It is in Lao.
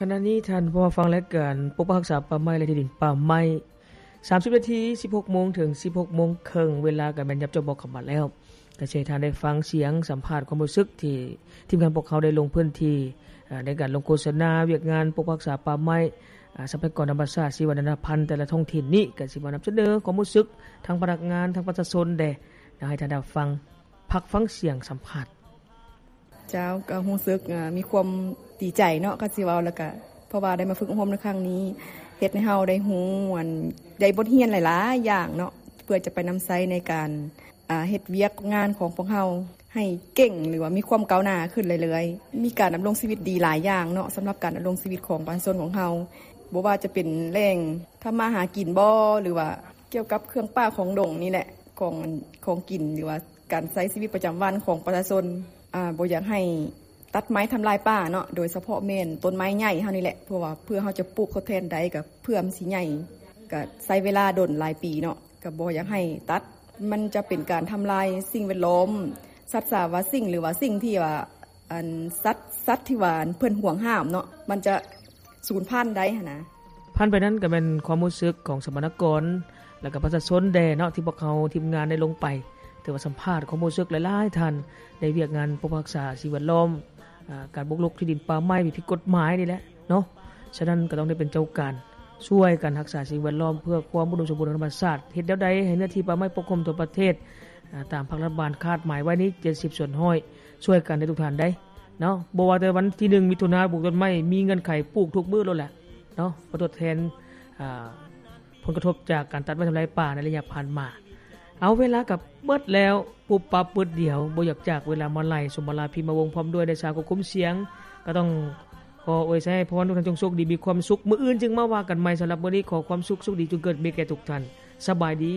ຂະນະນີ້ທ່ານຜູ້ຟັງ ລາຍການປົກປັກຮັກສາປ່າໄມ້ ແລະ ທີ່ດິນປ່າໄມ້ ສາມສິບນາທີ ສິບຫົກໂມງເຖິງສິບຫົກໂມງເຄິ່ງ ເວລາກໍແມ່ນຫຍັບຈອບເບາະເຂົ້າມາແລ້ວ. ກໍຊິໃຫ້ທ່ານໄດ້ຟັງສຽງສຳພາດຄວາມຮູ້ສຶກທີ່ທີມງານພວກເຮົາໄດ້ລົງພື້ນທີ່ ເອີ ໃນການລົງໂຄສະນາວຽກງານປົກປັກຮັກສາປ່າໄມ້ ອາ ຊັບພະຍາກອນທຳມະຊາດ ຊີວະນານາພັນແຕ່ລະທ້ອງຖິ່ນນີ້ ກໍຊິມານຳສະເໜີຄວາມຮູ້ສຶກທັງພະນັກງານ ທັງປະຊາຊົນແດ່. ຢາກໃຫ້ທ່ານໄດ້ຟັງ ພັກຟັງສຽງສຳພາດ. ເຈົ້າ ກໍຮູ້ສຶກ ເອີ ມີຄວາມດີໃຈເນາະ ກໍຊິເວົ້າແລ້ວກໍ ເພາະວ່າໄດ້ມາຝຶກອົບຮົມໃນຄັ້ງນີ້ ເຮັດໃຫ້ເຮົາໄດ້ຮູ້ ອັນ ໄດ້ບົດຮຽນຫຼາຍໆຢ່າງເນາະ ເພື່ອຈະໄປນຳໃຊ້ໃນການ ອາ ເຮັດວຽກງານຂອງພວກເຮົາໃຫ້ເກັ່ງ ຫຼືວ່າມີຄວາມກ້າວໜ້າຂຶ້ນເລື້ອຍໆ. ມີການດຳລົງຊີວິດດີຫຼາຍຢ່າງເນາະ ສຳລັບການດຳລົງຊີວິດຂອງປະຊາຊົນຂອງເຮົາ ບໍ່ວ່າຈະເປັນແຫຼ່ງທຳມາຫາກິນບໍ ຫຼືວ່າກ່ຽວກັບເຄື່ອງປ່າຂອງດົງນີ້ແຫຼະ ຂອງ ອັນ ຂອງກິນ ຫຼືວ່າ ການໃຊ້ຊີວິດປະຈຳວັນຂອງປະຊາຊົນ ອາ ບໍ່ຢາກໃຫ້ຕັດໄມ້ທຳລາຍປ່າເນາະ ໂດຍສະເພາະແມ່ນຕົ້ນໄມ້ໃຫຍ່ເຮົານີ້ແຫຼະ ເພາະວ່າເພື່ອເຮົາຈະປູກທົດແທນໄດ້ ກໍເພື່ອມັນຊິໃຫຍ່ ກໍໃຊ້ເວລາດົນຫຼາຍປີເນາະ ກໍບໍ່ຢາກໃຫ້ຕັດ ມັນຈະເປັນການທຳລາຍສິ່ງແວດລ້ອມ ສັດສາວະສິ່ງ ຫຼືວ່າສິ່ງທີ່ວ່າ ອັນ ສັດ ສັດທີ່ວ່າເພິ່ນຫວງຫ້າມເນາະ ມັນຈະ ສູນພັນໄດ້ຫັ້ນນະ. ຜ່ານໄປນັ້ນກໍແມ່ນຄວາມຮູ້ສຶກຂອງສຳມະນາກອນ ແລະກໍປະຊາຊົນແດ່ເນາະ ທີ່ພວກເຮົາທີມງານໄດ້ລົງໄປ ຖືວ່າສຳພາດຄວາມຮູ້ສຶກຫຼາຍໆທ່ານ ໃນວຽກງານປົກປັກຮັກສາສິ່ງແວດລ້ອມ ອາ ການບຸກລຸກທີ່ດິນປ່າໄມ້ທີ່ຜິດກົດໝາຍນີ້ແຫຼະເນາະ. ສະນັ້ນກໍຕ້ອງໄດ້ເປັນເຈົ້າການ ຊ່ວຍກັນຮັກສາສິ່ງແວດລ້ອມ ເພື່ອຄວາມອຸດົມສົມບູນຂອງທຳມະຊາດ. ເຮັດແນວໃດໃຫ້ເນື້ອທີ່ປ່າໄມ້ປົກຄຸມທົ່ວປະເທດ ອາ ຕາມພັກລັດຖະບານຄາດໝາຍໄວ້ນີ້ ເຈັດສິບສ່ວນຮ້ອຍ ຊ່ວຍກັນໄດ້ທຸກທ່ານໃດ໋ ເນາະ. ບໍ່ວ່າແຕ່ວັນທີໜຶ່ງມິຖຸນາ ປູກຕົ້ນໄມ້ ມີເງື່ອນໄຂປູກທຸກມື້ໂລດແຫຼະເນາະ ເພື່ອທົດແທນ ອາ ຜົນກະທົບຈາກການຕັດໄມ້ທຳລາຍປ່າໃນໄລຍະຜ່ານມາ. ເອົາ ເວລາກໍເບິດແລ້ວ ປຸບປັບປຶດດຽວ ບໍ່ຢາກຈາກເວລາມາຫຼາຍ. ສົມມາລາ ພິມມະວົງ ພ້ອມດ້ວຍນາຍຊາວຄວບຄຸມສຽງ ກໍຕ້ອງຂໍອວຍໄຊໃຫ້ພອນ ທຸກທ່ານຈົ່ງໂຊກດີ ມີຄວາມສຸກ. ມື້ອື່ນຈຶ່ງມາວ່າກັນໃໝ່. ສຳລັບມື້ນີ້ ຂໍຄວາມສຸກ ໂຊກດີ ຈົ່ງເກີດມີແກ່ທຸກທ່ານ. ສະບາຍດີ.